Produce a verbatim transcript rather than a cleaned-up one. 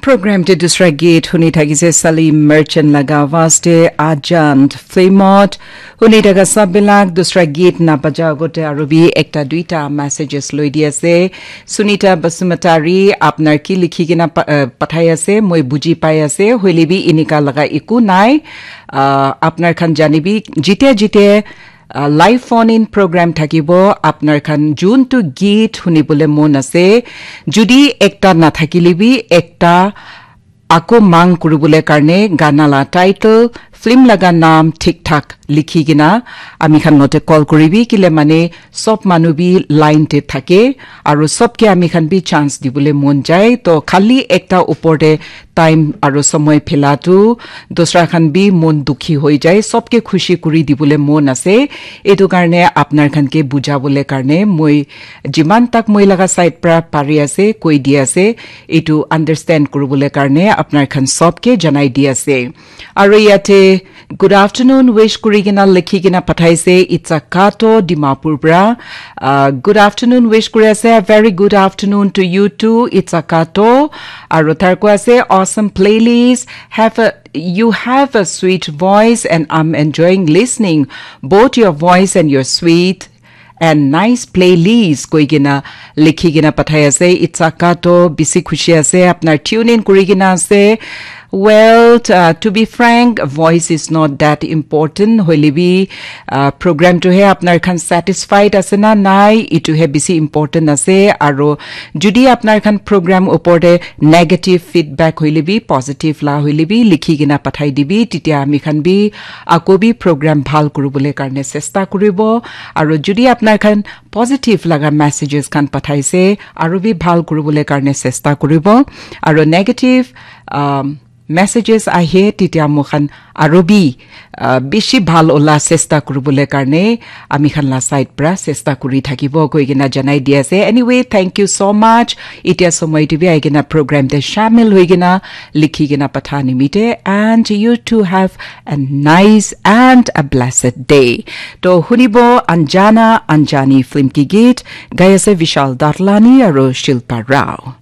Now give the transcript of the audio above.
Program te dusra git huni thakise Salim Merchant laga awaaz te Ajant film ot. Huni thaka sab bilak dusra git na baja agote aru bi ekta duita messages loi di ase. Sunita Basumatari, apnar ki likhi kena pa-, eh, pathai ase, moi buji pai ase, hoile bi inika laga eku nai. Ah, apnar khan janibi, jite jite, ah, live phone in program thakibo, apnar khan juntu git hunibole mon ase, judi ekta nathakile bi ekta ako mang kuribole karne gana la title, film laga naam thik thak likhi kena ami khan lote call kuribi, kile mane sob manu bi line te thake, aru sob ke ami khan bi chance dibole mon jai. To khali ekta upor te time aru somoi phela tu dusra khan bi mon dukhi hoi jai, sob ke khushi kuri dibole mon ase. Etu karne apnar khan ke bujabole karne moi jiman tak moi laga side pra pari ase, koi di ase, etu understand kuribole karne apnar khan sob ke janai di ase. Aru yate good afternoon wish kuri kena likhi kena pathaise Itsa Kato Dimapur pra. Uh, good afternoon wish kuri ase. A very good afternoon to you too, Itsa Kato. Aru tar koi ase, awesome playlist. Have a, you have a sweet voice and I'm enjoying listening. Both your voice and your sweet and nice playlist koi kena likhi kena pathai ase. Itsa Kato, bisi khushi ase apnar tune in kuri kena ase. Well, uh, to be frank, voice is not that important. Hoile bi, uh, program to he apnar khan satisfied ase na nai, itu he bisi important ase. Aru judi apnar khan program upor te negative feedback hoile bi, positive la hoile bi, likhi kena pathai dibi, titia ami khan bi ako bi program bhal kuribole karne chesta kuribo. Aru judi apnar khan positive laga messages khan pathaise, aru bi bhal kuribole karne chesta kuribo. Aru negative, um, messages ahe, titia moi khan aru bi, uh, bishi bhal ola chesta kuribole karne ami khan la side pra chesta kuri thakibo koi kena janai di ase. Anyway, thank you so much. Itia somoi te bi ahi kena program te shamil hoi kena likhi kena patha nimite. And you too have a nice and a blessed day. To hunibo Anjana Anjani film ki git, gai ase Vishal Datlani aru Shilpa Rao.